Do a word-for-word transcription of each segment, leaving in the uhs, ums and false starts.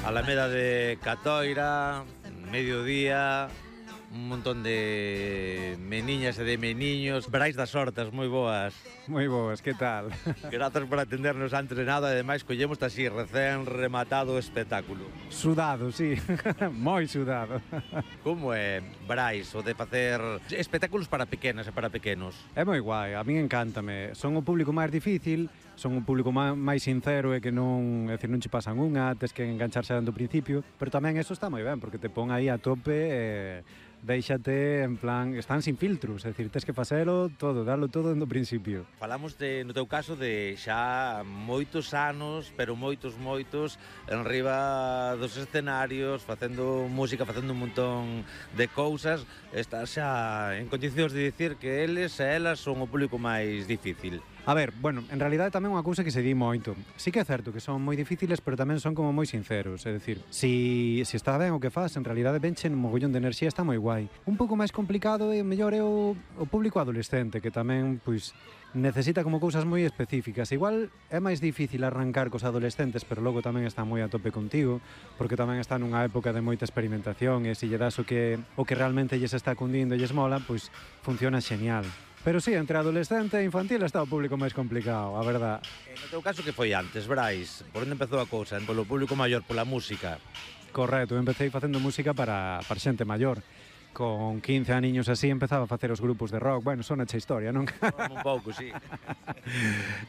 Alameda de Catoira, mediodía, un montón de meniñas e de meniños. Brais das Hortas, moi boas. Moi boas, que tal? Grazas por atendernos antes de nada, e ademais collemos así, recén rematado o espectáculo. Sudado, sí, moi sudado. Como é, Brais, o de facer espectáculos para pequenas e para pequenos? É moi guai, a min encántame. Son o público máis difícil, son o público máis sincero e que non, é dicir, non che pasan unha, tes que engancharse dando principio, pero tamén eso está moi ben, porque te pon aí a tope e déixate, en plan, están sin filtros, é dicir, tes que facelo todo, darlo todo no principio. Falamos de, no teu caso, de xa moitos anos, pero moitos, moitos, en riba dos escenarios, facendo música, facendo un montón de cousas. Estás xa en condicións de dicir que eles e elas son o público máis difícil. A ver, bueno, en realidade tamén unha cousa que se di moito. Sí que é certo que son moi difíciles, pero tamén son como moi sinceros. É dicir, si, si está ben o que faz, en realidade venchen un mogollón de enerxía, está moi guai. Un pouco máis complicado e mellor é o, o público adolescente, que tamén, pois, necesita como cousas moi específicas. Igual é máis difícil arrancar cos adolescentes, pero logo tamén está moi a tope contigo, porque tamén está nunha época de moita experimentación e se lle das o que, o que realmente lles está cundindo e lles mola, pois funciona xenial. Pero sí, entre adolescente e infantil está o público máis complicado, a verdad. En no teu caso, que foi antes, Brais? Por onde empezou a cousa? Polo público maior, pola música? Correcto, eu empecé facendo música para, para xente maior. Con quince aniños así empezaba a facer os grupos de rock. Bueno, son echa historia, non? Un pouco, sí.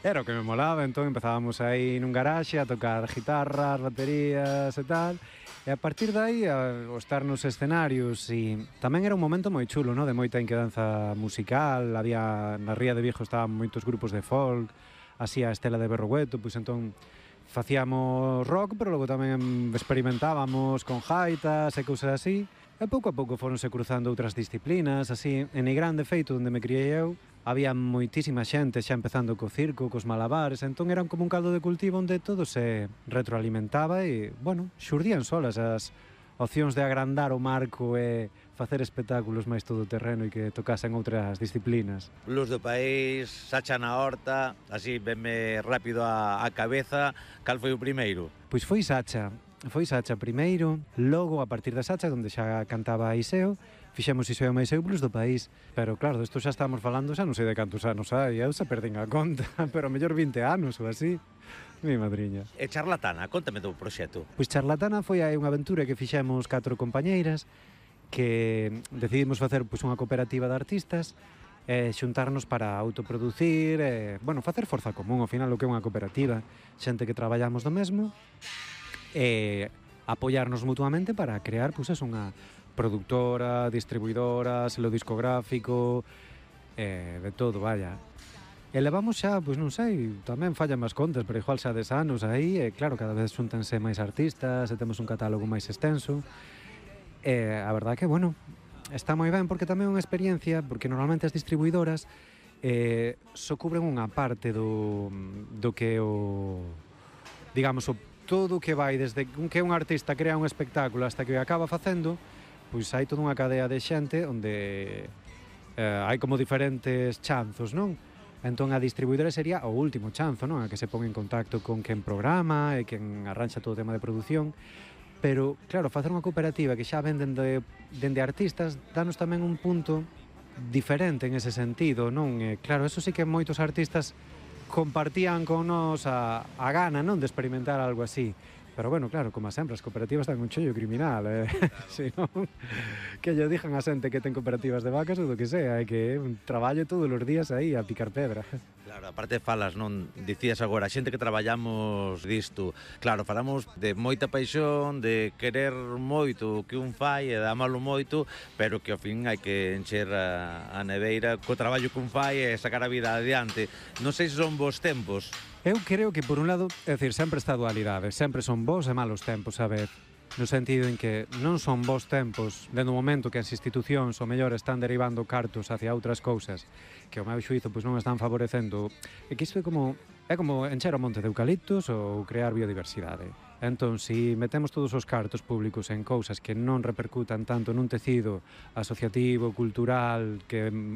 Era o que me molaba, entón empezábamos aí nun garaxe a tocar guitarras, baterías e tal. E a partir de aí, a, o estar nos escenarios, e tamén era un momento moi chulo, no? De moita inquedanza musical. Había, na Ría de Vigo estaban moitos grupos de folk, así a estela de Berrogueto, pois entón facíamos rock, pero logo tamén experimentábamos con jaitas e cousas así. E pouco a pouco foronse cruzando outras disciplinas, así. En Nigrán, de feito, onde me criei eu, había moitísima xente xa empezando co circo, cos malabares, entón eran como un caldo de cultivo onde todo se retroalimentaba e, bueno, xurdían solas as opcións de agrandar o marco e facer espectáculos máis todoterreno e que tocasen outras disciplinas. Luz do País, Sacha na Horta, así venme rápido a, a cabeza. Cal foi o primeiro? Pois foi Sacha. Foi Sacha primeiro, logo a partir da Sacha, onde xa cantaba Iseo, fixemos Iseo máis eu Blues do País. Pero claro, desto xa estamos falando, xa non sei de cantos anos hai, eu xa perdín a conta, pero mellor vinte anos ou así. Mi madriña. E Charlatana, contame do proxecto. Pois Charlatana foi aí unha aventura que fixemos catro compañeiras, que decidimos facer pois unha cooperativa de artistas, e xuntarnos para autoproducir, e, bueno, facer forza común, ao final o que é unha cooperativa, xente que traballamos do mesmo, e apoiarnos mutuamente para crear, pois, es unha productora, distribuidora, selo discográfico, eh, de todo, vaya. E levamos xa, pois non sei, tamén fallan máis contas, pero igual xa des anos aí, e claro, cada vez xuntanse máis artistas, e temos un catálogo máis extenso, e a verdade que, bueno, está moi ben, porque tamén é unha experiencia, porque normalmente as distribuidoras eh, só cubren unha parte do, do que o, digamos, o todo o que vai desde que un artista crea un espectáculo hasta que o acaba facendo, pois hai toda unha cadea de xente onde eh, hai como diferentes chanzos, non? Entón a distribuidora sería o último chanzo, non? A que se pon en contacto con quen programa e quen arranxa todo o tema de produción. Pero, claro, facer unha cooperativa que xa venden de, dende artistas danos tamén un punto diferente en ese sentido, non? E, claro, eso sí que moitos artistas compartían con nos a, a gana, non, de experimentar algo así. Pero bueno, claro, como sempre, as cooperativas dan un chollo criminal, eh? Si non, que lle dixan a xente que ten cooperativas de vacas ou do que sea, é que é un traballo todos os días aí a picar pedra. Claro, aparte falas, non, dicías agora, a xente que traballamos disto, claro, falamos de moita paixón, de querer moito o que un fai e de amalo moito, pero que ao fin hai que encher a, a neveira co traballo que un fai e sacar a vida adiante. Non sei se son vos tempos. Eu creo que, por un lado, é dicir, sempre está a dualidade, sempre son bons e malos tempos, a ver, no sentido en que non son bons tempos dentro do momento que as institucións o mellor están derivando cartos hacia outras cousas que o meu xuízo pois non están favorecendo, e que isto é como é como encher o monte de eucaliptos ou crear biodiversidade. Entón, se metemos todos os cartos públicos en cousas que non repercutan tanto nun tecido asociativo, cultural, que